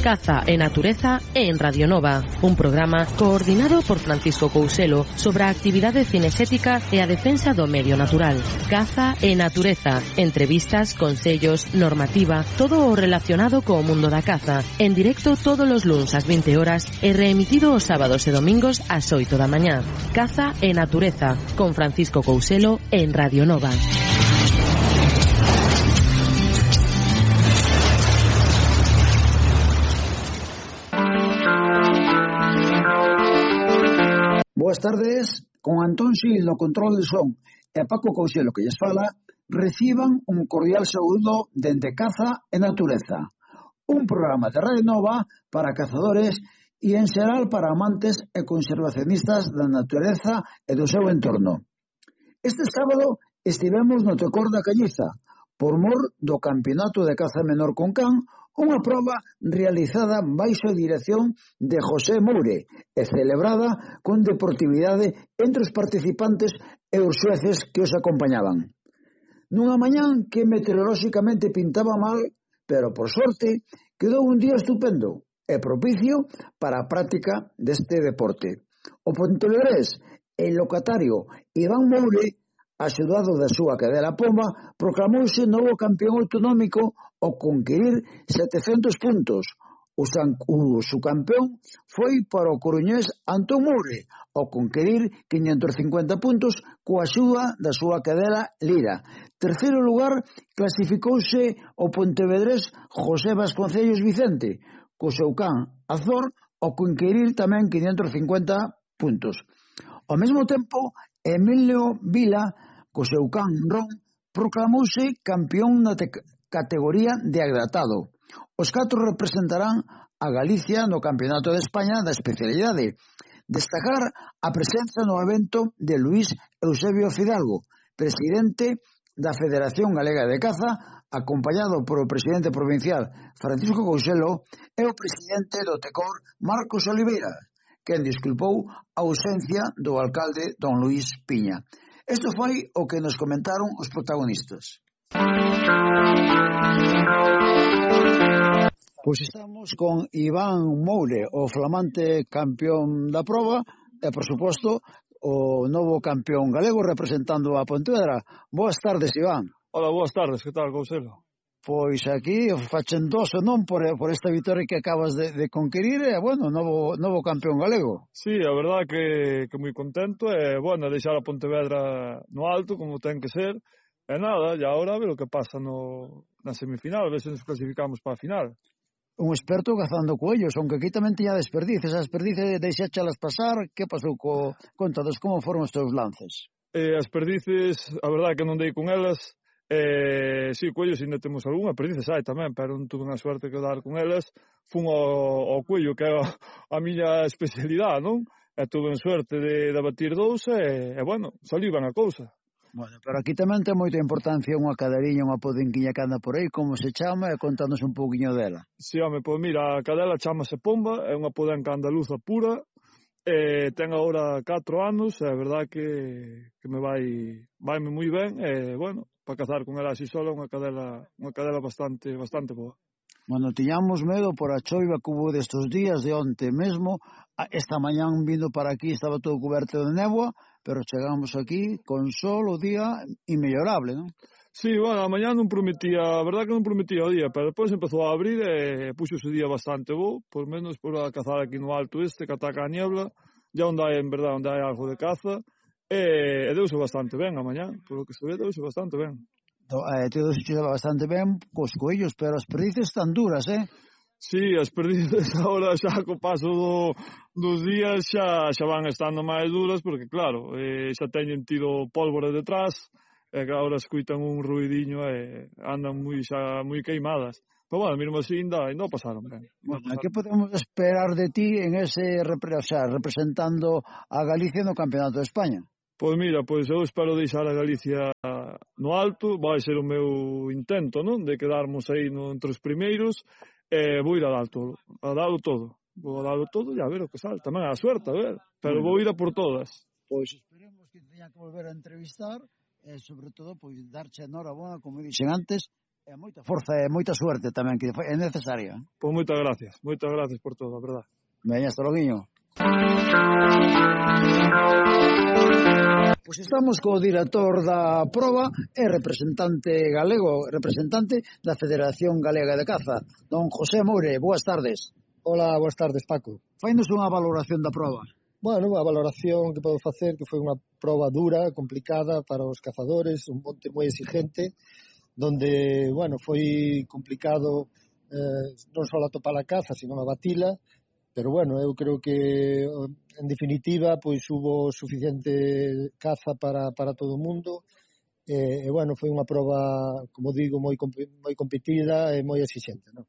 Caza e Natureza en Radio Nova, un programa coordinado por Francisco Couselo sobre a actividade cinexética e a defensa do medio natural. Caza e Natureza, entrevistas, consellos, normativa, todo o relacionado co mundo da caza, en directo todos os luns ás 20 horas e reemitido os sábados e domingos ás 8 da mañá. Caza e Natureza, con Francisco Couselo en Radio Nova. Boas tardes, con Antón Xil no control de son e Paco Couselo que lles fala, reciban un cordial saúdo dende Caza e Natureza, un programa de Radio Nova para cazadores e en xeral para amantes e conservacionistas da natureza e do seu entorno. Este sábado estivemos no Tecor da Calliza, por mor do Campeonato de Caza Menor con Can, unha proba realizada baixo a dirección de José Moure e celebrada con deportividade entre os participantes e os xueces que os acompañaban. Nunha mañán que meteorolóxicamente pintaba mal, pero por sorte quedou un día estupendo e propicio para a práctica deste deporte. O pontevedrés e locatario Iván Moure, axudado da súa cadela Pomba, proclamouse novo campeón autonómico ao conquerir 700 puntos. O subcampeón foi para o coruñés Antón Moure, ao conquerir 550 puntos coa axuda da súa cadela Lira. Terceiro lugar clasificouse o pontevedrés José Vasconcellos Vicente, co seu can Azor, ao conquerir tamén 550 puntos. Ao mesmo tempo, Emilio Vila, co seu can Ron, proclamouse campeón na categoría de agratado. Os 4 representarán a Galicia no Campeonato de España da especialidade. Destacar a presenza no evento de Luís Eusebio Fidalgo, presidente da Federación Galega de Caza, acompañado por o presidente provincial Francisco Couselo e o presidente do Tecor Marcos Oliveira, quen disculpou a ausencia do alcalde don Luís Piña. Isto foi o que nos comentaron os protagonistas. Pois estamos con Iván Moure, o flamante campeón da proba e, por suposto, o novo campeón galego representando a Pontevedra. Boas tardes, Iván. Hola, boas tardes, que tal, Couselo? Pois aquí fachendoso, non, por esta vitória que acabas de conquerir, e, bueno, novo campeón galego. Sí, a verdad que moi contento, e, bueno, deixar a Pontevedra no alto, como ten que ser, e nada, e agora a ver o que pasa na semifinal, a ver se nos clasificamos para a final. Un experto cazando coellos, aunque aquí tamén tiña desperdices, as desperdices deixáchalas pasar, que pasou contados, como foron os teus lances? As perdices, a verdad que non dei con elas, sí, coellos ainda temos algunha, perdices hai tamén, pero non tuve a suerte que dar con elas, fun ao coello, que é a miña especialidade, non? E tuve en suerte de batir 2 e, bueno, saliu ben a cousa. Bueno, pero aquí tamén ten moita importancia unha cadeliña, unha podenquiña que anda por aí, como se chama, e contanos un pouquiño dela. Sí, home, pois mira, a cadela chamase Pomba, é unha podenca andaluza pura, ten agora 4 anos, é verdad que me vaime moi ben, e, bueno, para cazar con ela así sola, unha cadela bastante boa. Bueno, tiñamos medo por a choiva que hubo destes días, de onte mesmo, esta mañán vindo para aquí estaba todo coberto de néboa, pero chegamos aquí con sol o día inmellorable, non? Sí, bueno, a mañá non prometía, a verdad que non prometía o día, pero depois empezou a abrir e puxo ese día bastante bo, por menos por a cazar aquí no alto que ataca a niebla, ya onde hai, en verdad, onde hai algo de caza, e deuse bastante ben a mañá, por lo que se ve, deuse bastante ben. Deuse bastante ben cos coellos, pero as perdices están duras, Sí, as perdices agora xa co paso dos días xa van estando máis duras, porque claro, xa teñen tido pólvora detrás, e agora escuitan un ruidiño e andan moi queimadas. Pero bueno, mesmo así ainda pasaron ben. Bueno, que podemos esperar de ti en ese, representando a Galicia no Campeonato de España? Pois mira, eu espero deixar a Galicia no alto, vai ser o meu intento, non? De quedarmos aí entre os primeiros, e vou ir a dalo todo. Vou a dalo todo e a ver o que sale. Tamén a suerte, a ver. Pero vou ir a por todas. Pois esperemos que teña que volver a entrevistar e, sobre todo, darche enhorabuena, como dixen antes, E moita forza e moita suerte tamén, que é necesaria. Pois moitas gracias por todo, a verdade. Veña, hasta loguiño. Pois estamos co director da proba e representante galego, representante da Federación Galega de Caza, don José Moure. Boas tardes. Hola, boas tardes, Paco. Fainos unha valoración da proba. Bueno, a valoración que podo facer que foi unha proba dura, complicada para os cazadores, un monte moi exigente, donde, bueno, foi complicado non só atopar a caza, sino a batila, pero, bueno, eu creo que, en definitiva, pois hubo suficiente caza para todo o mundo, e, bueno, foi unha proba, como digo, moi competida e moi exigente, non?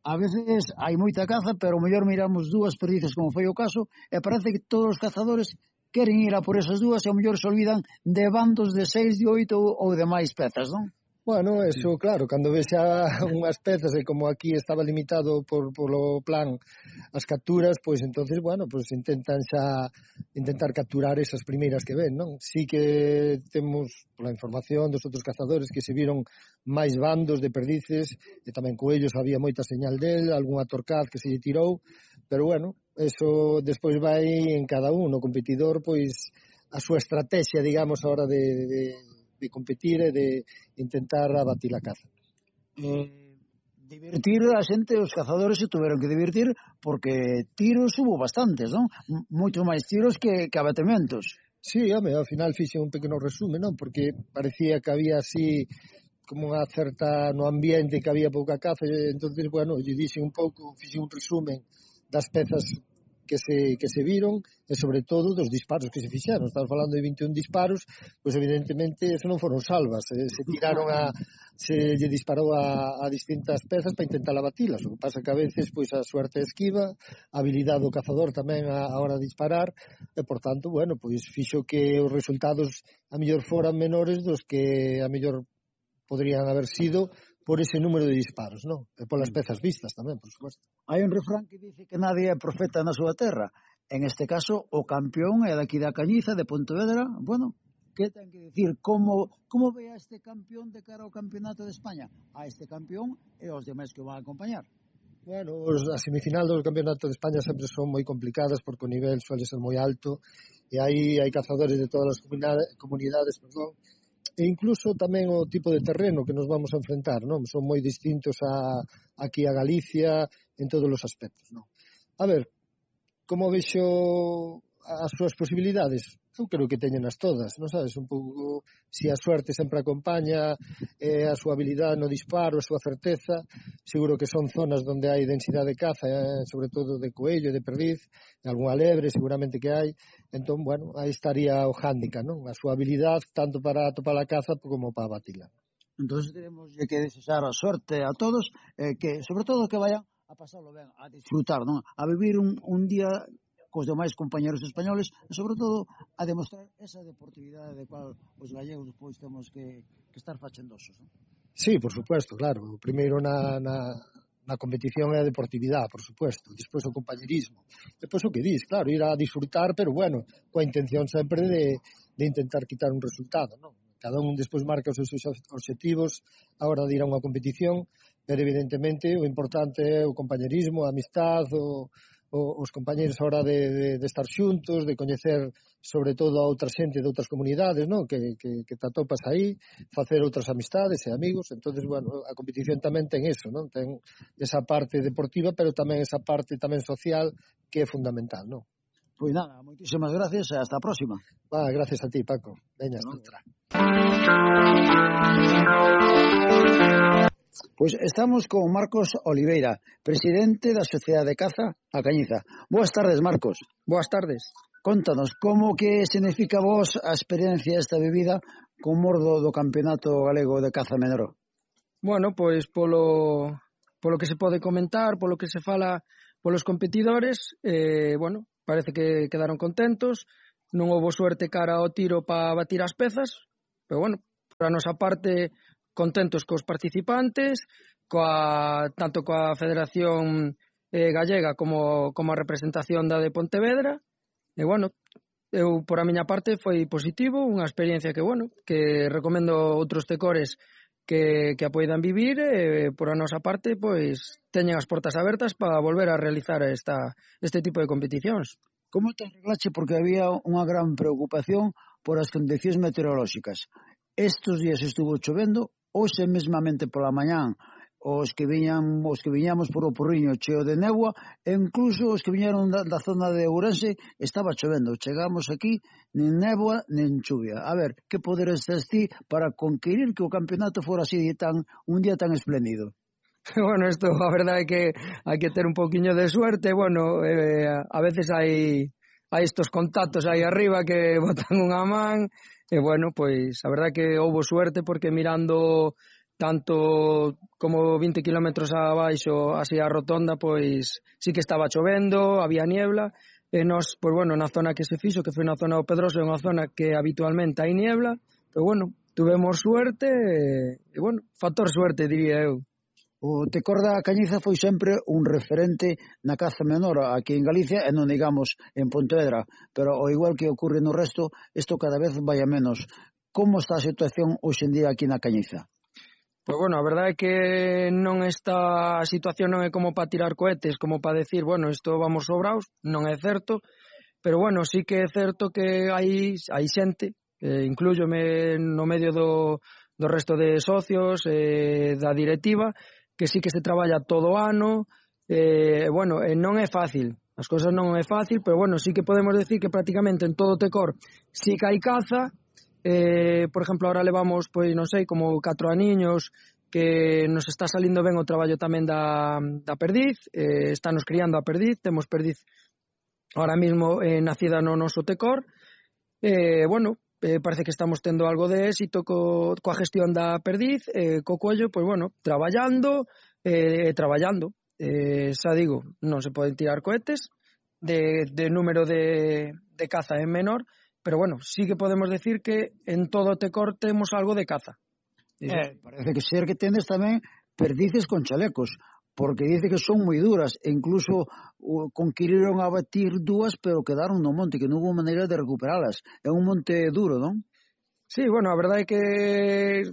A veces hai moita caza, pero o mellor miramos dúas perdices, como foi o caso, e parece que todos os cazadores queren ir a por esas dúas e ao mellor se olvidan de bandos de 6, de 8 ou de máis pezas, non? Bueno, eso, claro, cando ves xa unhas pezas e como aquí estaba limitado polo plan as capturas, pois entonces, bueno, pois intentar capturar esas primeiras que ven, non? Sí que temos, pola información dos outros cazadores, que se viron máis bandos de perdices, e tamén coellos había moita señal del, algunha torcaz que se lle tirou, pero bueno, eso despois vai en cada un, o competidor, pois a súa estrategia, digamos, a hora de competir e de intentar abatir a caza. Divertir a xente, os cazadores se tuveron que divertir porque tiros hubo bastantes, non? Moito máis tiros que abatementos. Sí, home, ao final fixe un pequeno resume, non? Porque parecía que había así como unha certa no ambiente que había pouca caza, e entonces, bueno, lle dixen un pouco, fixe un resumen das pezas que se viron e sobre todo dos disparos que se fixeron. Estamos falando de 21 disparos, pois evidentemente eso non foron salvas, se lle disparou a distintas pezas para intentar abatilas. O que pasa que a veces pois a suerte esquiva, a habilidade do cazador tamén a hora de disparar e por tanto, bueno, pois fixo que os resultados a mellor foran menores dos que a mellor podrían haber sido por ese número de disparos, non? E polas pezas vistas tamén, por suposto. Hai un refrán que dice que nadie é profeta na súa terra. En este caso, o campeón é daqui da Cañiza, de Pontevedra. Bueno, que ten que dicir? Como ve a este campeón de cara ao campeonato de España? A este campeón e aos demais que o van a acompañar. Bueno, a semifinal do campeonato de España sempre son moi complicadas porque o nivel suele ser moi alto e aí hai cazadores de todas as comunidades, e incluso tamén o tipo de terreno que nos vamos a enfrentar, non? Son moi distintos aquí a Galicia en todos os aspectos, non? A ver, como vexo as súas posibilidades? Eu creo que teñenas todas, non sabes? Un pouco, se a suerte sempre acompaña, a súa habilidade no disparo, a súa certeza, seguro que son zonas onde hai densidade de caza, sobre todo de coello, de perdiz, de algunha lebre, seguramente que hai. Entón, bueno, aí estaría o hándicap, non? A súa habilidade, tanto para atopar a caza como para abatila. Entón, tenemos que desexar a sorte a todos, que, sobre todo, que vayan a pasarlo ben, a disfrutar, non? A vivir un día cos demais compañeros españoles e, sobre todo, a demostrar esa deportividade de cual os gallegos pois temos que estar fachendosos, non? Sí, por supuesto, claro. O primeiro na competición é a deportividade, por supuesto. Despois o compañerismo. Despois o que dis, claro, ir a disfrutar, pero bueno, coa intención sempre de intentar quitar un resultado, non? Cada un despois marca os seus obxectivos a hora de ir a unha competición, pero evidentemente o importante é o compañerismo, a amistad, os compañeros a hora de estar xuntos, de coñecer sobre todo a outra xente de outras comunidades, non? Que te atopas aí, facer outras amistades e amigos. Entonces, bueno, a competición tamén ten eso, non? Ten esa parte deportiva, pero tamén esa parte tamén social que é fundamental, non? Pois nada, moitísimas gracias e hasta a próxima. Gracias a ti, Paco. Veña, hasta outra. Pois estamos con Marcos Oliveira, presidente da Sociedade de Caza A Cañiza. Boas tardes, Marcos. Boas tardes. Contanos, como que significa vos a experiencia esta vivida con mordo do Campeonato Galego de Caza Menor? Bueno, pois polo que se pode comentar, polo que se fala polos competidores, bueno, parece que quedaron contentos, non houbo suerte cara ao tiro para batir as pezas, pero bueno, por a nosa parte contentos cos participantes, tanto coa Federación Gallega como a representación da de Pontevedra, e bueno, eu por a miña parte foi positivo, unha experiencia que, bueno, que recomendo outros tecores que a poidan vivir, por a nosa parte, pois, teñen as portas abertas para volver a realizar este tipo de competicións. Como te arreglache? Porque había unha gran preocupación por as condicións meteorolóxicas. Estes días estuvo chovendo, hoxe mesmamente pola mañán, os que viñamos por o Porriño cheo de néboa, e incluso os que viñeron da zona de Ourense estaba chovendo. Chegamos aquí, nin néboa, nin chuvia. A ver, que poderes tes ti para conquerir que o campeonato fora así un día tan espléndido? Bueno, isto a verdade é que hai que ter un poquinho de suerte. Bueno, a veces hai estos contactos aí arriba que botan unha man, e bueno, pois a verdade é que houbo suerte, porque mirando tanto como 20 kilómetros abaixo, así a rotonda, pois sí que estaba chovendo, había niebla, e nós, pois bueno, na zona que se fixo, que foi na zona do Pedroso, é unha zona que habitualmente hai niebla, pero bueno, tuvemos suerte, e bueno, factor suerte, diría eu. O Tecor da Cañiza foi sempre un referente na caza menor aquí en Galicia e non digamos en Pontevedra, pero ao igual que ocorre no resto, isto cada vez vai a menos. Como está a situación hoxe en día aquí na Cañiza? Pois bueno, a verdade é que a situación non é como para tirar cohetes, como para decir, bueno, isto vamos sobraos, non é certo, pero bueno, sí que é certo que hai xente, inclúyome no medio do resto de socios, da directiva, que sí que se traballa todo o ano, bueno, non é fácil, as cousas non é fácil, pero bueno, sí que podemos decir que prácticamente en todo o Tecor sí que hai caza. Por exemplo, ahora levamos, pois non sei, como 4 aniños que nos está salindo ben o traballo tamén da perdiz, estános criando a perdiz, temos perdiz ahora mismo nacida no noso Tecor, bueno, parece que estamos tendo algo de éxito coa gestión da perdiz, co coello, pois bueno, traballando, xa digo, non se poden tirar cohetes, de número de caza é menor, pero bueno, sí que podemos decir que en todo o Tecor temos algo de caza. Parece que ser que tendes tamén perdices con chalecos, porque dice que son moi duras, e incluso conquiriron a batir 2, pero quedaron no monte, que non hubo maneira de recuperalas. É un monte duro, non? Sí, bueno, a verdade é que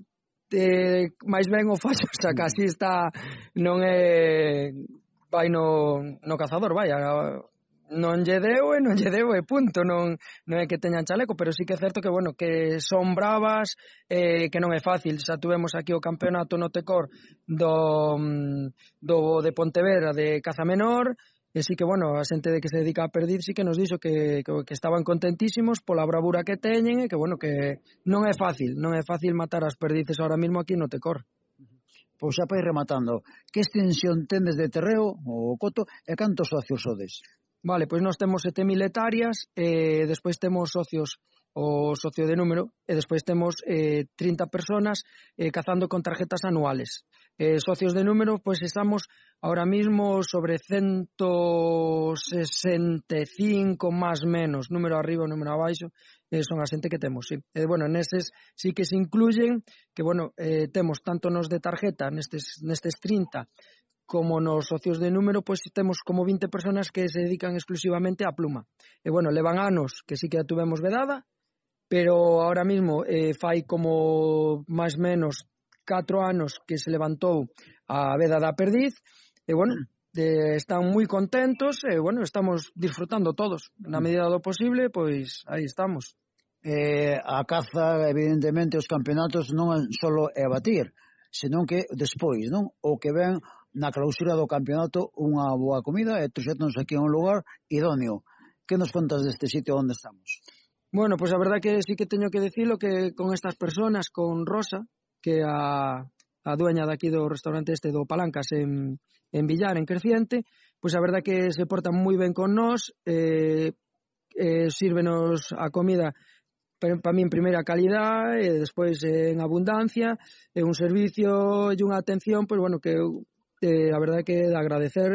máis ben o fallo, xa casi está, non é, vai no cazador, vai, non lle deu e punto, non é que teñan chaleco, pero sí que é certo que, bueno, que son bravas, que non é fácil. Xa tuvemos aquí o campeonato no Tecor de Pontevedra de caza menor, e sí que, bueno, a xente de que se dedica a perdiz sí que nos dixo que estaban contentísimos pola bravura que teñen, e que, bueno, que non é fácil matar as perdices ahora mismo aquí no Tecor. Pois xa para ir rematando, que extensión tendes de terreo, o coto, e cantos socios sodes? Vale, pois nós temos 7.000 hectáreas, despois temos socios, o socio de número, e despois temos 30 personas cazando con tarjetas anuales. Socios de número, pois estamos ahora mismo sobre 165 máis menos, número arriba, número abaixo, son a xente que temos, sí. Bueno, neses sí que se incluyen, que bueno, temos tanto nos de tarjeta, nestes 30, como nos socios de número, pois temos como 20 personas que se dedican exclusivamente á pluma. E bueno, levan anos que sí que a tuvemos vedada, pero ahora mismo fai como máis menos 4 anos que se levantou a veda da perdiz, e bueno, están moi contentos, e bueno, estamos disfrutando todos. Na medida do posible, pois aí estamos. A caza, evidentemente, os campeonatos non só é batir, senón que despois, non? O que ven na clausura do campeonato unha boa comida e trouxétonos aquí a un lugar idóneo. Que nos contas deste sitio onde estamos? Bueno, pois a verdade que sí que teño que decirlo, que con estas personas, con Rosa, que é a dueña daqui do restaurante do Palancas en Villar, en Creciente, pois a verdade que se portan moi ben con nós, sírvenos a comida para min primeira calidad, e despois en abundancia, e un servicio e unha atención, pois bueno, que a verdade que de agradecer,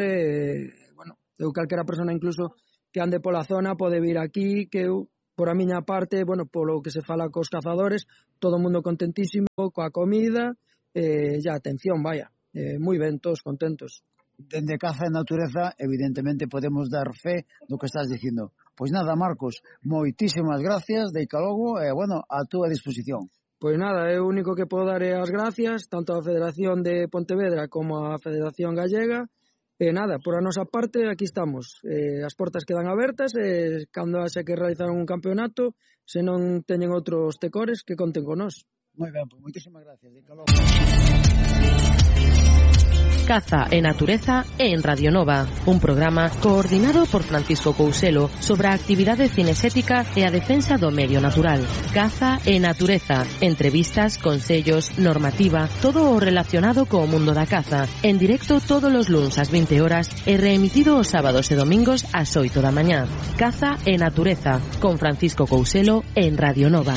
bueno, eu calquera persona incluso que ande pola zona pode vir aquí, que eu, por a miña parte, bueno, polo que se fala cos cazadores, todo o mundo contentísimo coa comida, e a atención, vaya, moi ben, todos contentos. Dende Caza e Natureza, evidentemente, podemos dar fe do que estás dicindo. Pois nada, Marcos, moitísimas gracias, deica logo, e, bueno, a túa disposición. Pois nada, é o único que podo dar as gracias tanto á Federación de Pontevedra como á Federación Gallega. E nada, por a nosa parte aquí estamos. As portas quedan abertas e cando haxa que realizar un campeonato, se non teñen outros tecores, que conten con nós. Moi ben, pois moitísimas gracias. Caza e Natureza en Radio Nova, un programa coordinado por Francisco Couselo sobre a actividade cinexética e a defensa do medio natural. Caza e Natureza, entrevistas, consellos, normativa, todo o relacionado co mundo da caza, en directo todos os luns ás 20 horas e reemitido os sábados e domingos ás 8 da mañá. Caza e Natureza, con Francisco Couselo en Radio Nova.